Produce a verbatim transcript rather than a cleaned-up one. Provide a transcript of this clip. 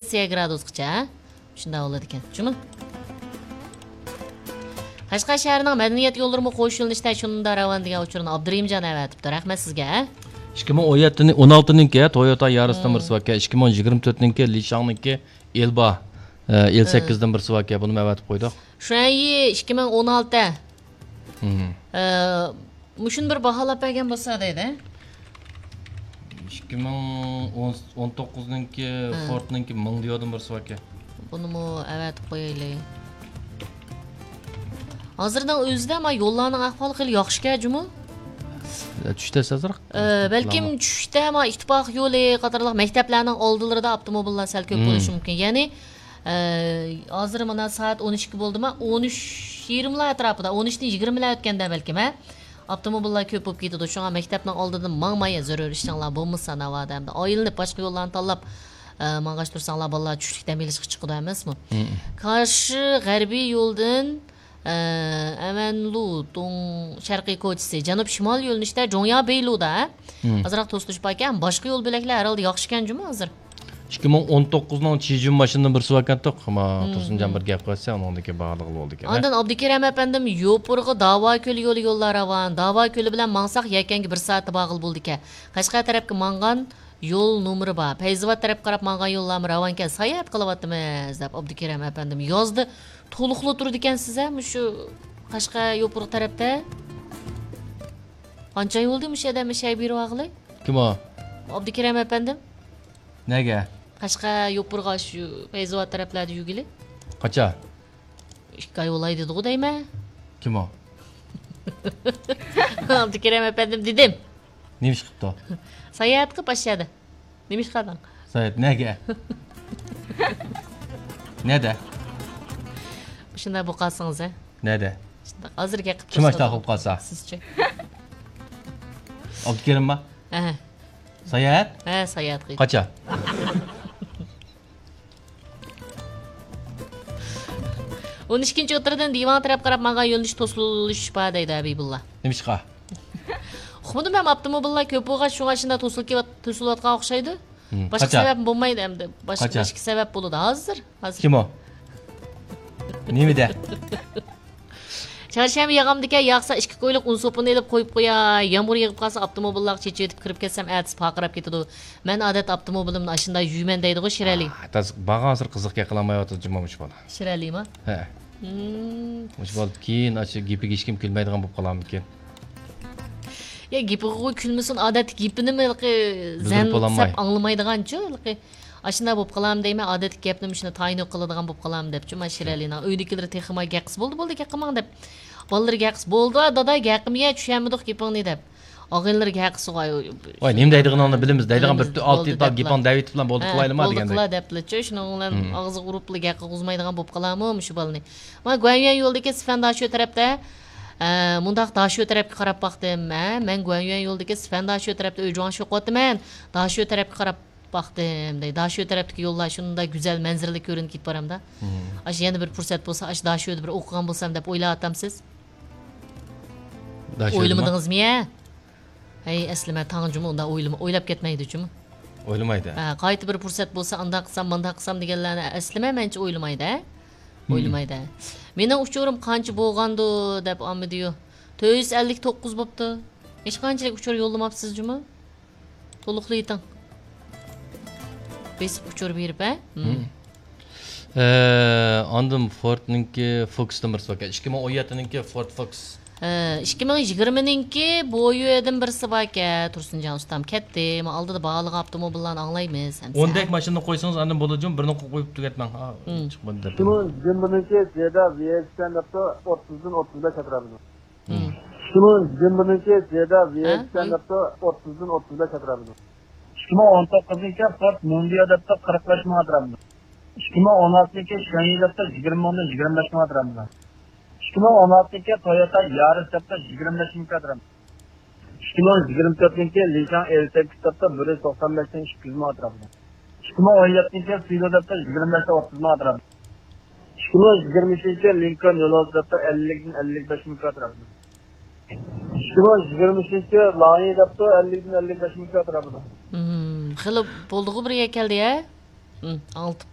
سېلسىيە گرادۇسقىچە، ھە؟ شۇنداق بولىدىكەن، جۇمۇ. قەشقەر شەھىرىنىڭ مەدەنىيەت يوللىرىمۇ قوش يۆنىلىشتە شۇنداق راۋان دېگەن ئۇچۇرنى ئابدۇرېھىمجان ئەۋەتىپتۇ. رەھمەت سىزگە. ئىككى مىڭ ئون يەتتىنى، ئون ئالتىنىڭكى تويوتا يارىستىن بىرسى باركەن، ئىككى مىڭ يىگىرمە تۆتنىڭكى لىشاڭنىڭكى ئېلبا، ئە، ئېل سەككىزدىن بىرسى باركەن، بۇنىمۇ ئەۋەتىپ قويدۇق. شۇەنيى ئىككى مىڭ ئون ئالتە. مم. ئە، مۇشۇنى بىر باھالاپ بەرگەن بولسا دەيدۇ. ئىككى مىڭ ئون، ئون توققۇزنىڭكى، ھە. فوردنىڭكى مىڭ دېيەردىم بىرسى باركەن. بۇنىمۇ ئەۋەتىپ قويايلى. ھازىرنىڭ ئۆزىدە ما يوللارنىڭ ئەھۋالى خېلى ياخشىكەن جۇمۇ. چۈشتە ئازراق. ئە، بەلكىم چۈشتە ما ئىتتىپاق يولى قاتارلىق مەكتەپلەرنىڭ ئالدىلىرىدا ئاپتوموبىللار سەل كۆپ بولۇشى مۇمكىن. يەنى، ئە، ھازىر مانا سائەت ئون ئىككى بولدىما، ئون ئۈچ يېرىملا ئەتراپىدا، ئون ئۈچتىن يىگىرمىلا ئۆتكەندە بەلكىم، ھە؟ ئاپتوموبىللار كۆپ بولۇپ كېتىدۇ. شۇڭا مەكتەپنىڭ ئالدىدىن ماڭماي، زۆرۈر ئىشىڭلار بولمىسا ناۋادا ئەمدى ئايلىنىپ باشقا يوللارنى تاللاپ، ئە، ماڭغاچ تۇرساڭلار بالىلار چۈشلۈك دەم ئېلىشقا چىقىدۇ ئەمەسمۇ؟ كارشى غەربىي يولدىن، ئە، ئەمەنلۇ، دوڭ، شەرقىي كوچىسى، جەنۇب شىمال يۆنىلىشتە جوڭيا بېيلۇدا، ھە؟ ئازراق توسۇلۇش باركەن، باشقا يول بۆلەكلەر ھەر ھالدا ياخشىكەن جۇمۇ ھازىر. ئىككى مىڭ ئون توققۇزنىڭ چىجۈن ماشىنىدىن بىرسى باركەنتۇق. ما، تۇرسۇنجان بىر گەپ قىلسا، ئۇنىڭدىكى باھالىغىلى بولىدىكەن. ئاندىن ئابدۇكېرەم ئەپەندىم، يوپۇرغا داۋا كۆلى يولى يوللار راۋان. داۋا كۆلى بىلەن ماڭساق، يەكەنگە بىر سائەتتە بارغىلى بولىدىكەن. قەشقەر تەرەپكە ماڭغان يول نومۇرى بار. پەيزىۋات تەرەپكە قاراپ ماڭغان يوللارمۇ راۋانكەن. ساياھەت قىلىۋاتىمىز، دەپ ئابدۇكېرەم ئەپەندىم يازدى. تولۇقلا تۇرىدىكەنسىز، ھە، مۇشۇ قەشقەر يوپۇرغا تەرەپتە. قانچە ئاي بولدى مۇشۇ ئادەم شەي بېرىۋالغىلى؟ كىم ئۇ؟ ئابدۇكېرەم ئەپەندىم. نەگە؟ قەشقەر يوپۇرغا شۇ پەيزىۋات تەرەپلەردە يۈرگىلى. قاچان؟ ئىككى ئاي بولاي دېدىغۇ دەيمەن. كىم ئۇ؟ ئابدۇكېرەم ئەپەندىم دېدىم. نېمە ئىش قىپتۇ؟ ساياھەت قىپ ئاشۇ يەردە. نېمە ئىش قىلدىڭ؟ ساياھەت نەگە؟ نەدە؟ شۇنداق بولۇپ قالسىڭىز، ھە؟ نەدە؟ شۇنداق ھازىر گەپ قىلىپ كىم ئاشۇنداق بولۇپ قالسا؟ سىزچۇ؟ ئابدۇكېرىمما؟ ھە. ساياھەت؟ ھە، ساياھەت قىلىپ. قاچان؟ ئون ئىككىنچى ئوتتۇرىدىن دىۋان تەرەپ قاراپ ماڭغان يۆنىلىش توسۇلۇش بار دەيدۇ ھەبىبۇللا. نېمىشقا؟ ئۇقمىدىم ھەم، ئاپتوموبىللار كۆپ بولغاچ، شۇڭا شۇنداق توسۇلۇپ كېۋەت-، توسۇلۇۋاتقان ئوخشايدۇ. باشقا سەۋەب بولمايدۇ ئەمدى. باشقا، قاچان؟ باشقا سەۋەب بولىدۇ ھازىر. ھازىر. كىم ئۇ؟ نېمىدە؟ چارشەنبە ياغامدىكەن، ياغسا ئىككى كويلۇق ئۇن سوپۇنى ئېلىپ قويۇپ قوياي. يامغۇر يېغىپ قالسا ئاپتوموبىللارغا چېچىۋېتىپ كىرىپ كەتسەم، ئەتىسى پارقىراپ كېتىدۇ. مەن ئادەتتە ئاپتوموبىلىمنى ئاشۇنداق يۇيىمەن دەيدىغۇ شىرئەلى. ئا، تاز-، بارغانسېرى قىزىق گەپ قىلالمايۋاتىدۇ جۇمۇ مۇشۇ بالا. شىرئەلىما؟ ھە. مم. مۇشۇ بالا كېيىن ئاشۇ گېپىگە ھېچكىم كۈلمەيدىغان بولۇپ قالارمىكىن؟ يا، گېپىگە كۈلمىسۇن، ئادەتتە گېپىنىمۇ ھېلىقى بىلدۈرۈپ زەن بولالماي. سەپ ئاڭلىمايدىغانچۇ، ھېلىقى. ئاشۇنداق بولۇپ قالامدۇ دەيمەن، ئادەتتىكى گەپنى مۇشۇنى تايىنلىق قىلىدىغان بولۇپ قالامدۇ دەپچۇ، مانا شىرئەلىنىڭ ئۆيدىكىلىرى تېخىما گەپ قىلسا، بولدى، بولدى، گەپ قىلماڭ دەپ. بالىلىرى گەپ قىلسا، بولدى، دادا، گەپ قىلمىگە، چۈشەنمىدۇق گېپىڭنى دەپ. ئاغىنىلىرى گەپ قىلسا، ۋاي، ۋاي، نېمە دەيدىغىنىڭنى بىلىمىز، دەيدىغان بىلىمىز، بىر ئالتە بولدى يېتى تال دەپلا. گېپىڭ دەۋېتىپلا بولدى، ھە، قىلايلىما بولدى دېگەندەك. قىلا دەپلىچۇ، شۇنىڭ بىلەن مم. ئاغزىغا ئۇرۇپلا گەپ قىلغۇزمايدىغان بولۇپ قالامۇ مۇشۇ بالىنى. مانا گۇەنيۈەن يولىدىكى سىفەن داشۆ تەرەپتە، ئە، مۇنداق داشۆ تەرەپكە قاراپ باقتىم، ھە، مەن گۇەنيۈەن يولىدىكى سىفەن داشۆ تەرەپتە ئۆي جۇڭشۇ قىلىۋاتىمەن، داشۆ تەرەپكە قاراپ باقتىم دەيدۇ. داشۆ تەرەپتىكى يوللار شۇنداق گۈزەل مەنزىرىلىك كۆرۈنۈپ كېتىپ بارامدا. مم. ئاشۇ يەنە بىر پۇرسەت بولسا، ئاشۇ داشۆدە بىر ئوقۇغان بولسام دەپ ئويلاۋاتامسىز؟ داشۆدىما؟ ئويلىمىدىڭىزمۇ يە؟ ھەي، ئەسلىمە، تاڭ جۇمۇ ئۇنداق ئويلىما-، ئويلاپ كەتمەيدۇ جۇمۇ. ئويلىمايدۇ. ھە، قايتا بىر پۇرسەت بولسا، ئانداق قىلسام، مانداق قىلسام دېگەنلەرنى ئەسلىمە مەنچە ئويلىمايدۇ، ھە؟ مم. ئويلىمايدۇ. مېنىڭ ئۇچۇرۇم قانچە بولغاندۇ دەپ ئاممىدىيۇ. تۆت يۈز ئەللىك توققۇز بوپتۇ. ھېچقانچىلىك ئۇچۇر يوللىماپسىز جۇمۇ. تولۇقلىۋېتىڭ. بېسىپ ئۇچۇر بېرىپ، ھە؟ مم. ئە، ئاندىن فوردنىڭكى فوكسدىن بىرسى باركەن. ئىككى مىڭ ئون يەتتىنىڭكى فورد فوكس. ئە، ئىككى مىڭ يىگىرمىنىڭكى بويۇدىن بىرسى باركەن. تۇرسۇنجان ئۇستام كەتتى. مانا ئالدىدا باھالىغان ئاپتوموبىللارنى ئاڭلايمىز ئەمسە. ئوندەك ماشىنىنى قويسىڭىز، ئاندىن بولىدۇ جۇمۇ، بىرنى قويۇپ تۈگەتمەڭ. ھا، مم. چىقمىدى دەپ. ئىككى مىڭ يىگىرمىنىڭكى زېدا ۋىئېكسەن دەپتۇ، ئوتتۇزدىن ئوتتۇز بەش ئەتراپىدا. مم. ئىككى مىڭ يىگىرمىنىڭكى زېدا ھە؟ ۋىئېكسەن دەپتۇ، ئوتتۇزدىن ئوتتۇز بەش ئەتراپىدا. ئىككى مىڭ ئون توققۇزنىڭكى فورد موندىيو دەپتۇ، قىرىق بەش مىڭ ئەتراپىدا. ئىككى مىڭ ئون ئالتىنىڭكى شياڭيى دەپتۇ، يىگىرمە مىڭدىن يىگىرمە بەش مىڭ ئەتراپىدا. ئىككى مىڭ ئون ئالتىنىڭكى تويوتا يارىس دەپتۇ، يىگىرمە بەش مىڭ ئەتراپىدا. ئىككى مىڭ يىگىرمە تۆتىنىڭكى لىشاڭ ئېل سەككىز دەپتۇ، بىر يۈز توقسان بەشتىن ئىككى يۈز مىڭ ئەتراپىدا. ئىككى مىڭ ئون يەتتىنچى يىل سىلو دەپتۇ، يىگىرمە بەشتە ئوتتۇز مىڭ ئەتراپىدا. ئىككى مىڭ يىگىرمە ئۈچىنچى يىل لىنكولن يولۋاس دەپتۇ، ئەللىكتىن ئەللىك بەش مىڭ ئەتراپىدا. ئىككى مىڭ يىگىرمە ئۈچىنچى يىل لاڭيى دەپتۇ، ئەللىكتىن ئەللىك بەش مىڭ ئەتراپىدا. مم، خېلى بولدىغۇ بىر يەر كەلدى، ھە؟ ئاڭلىتىپ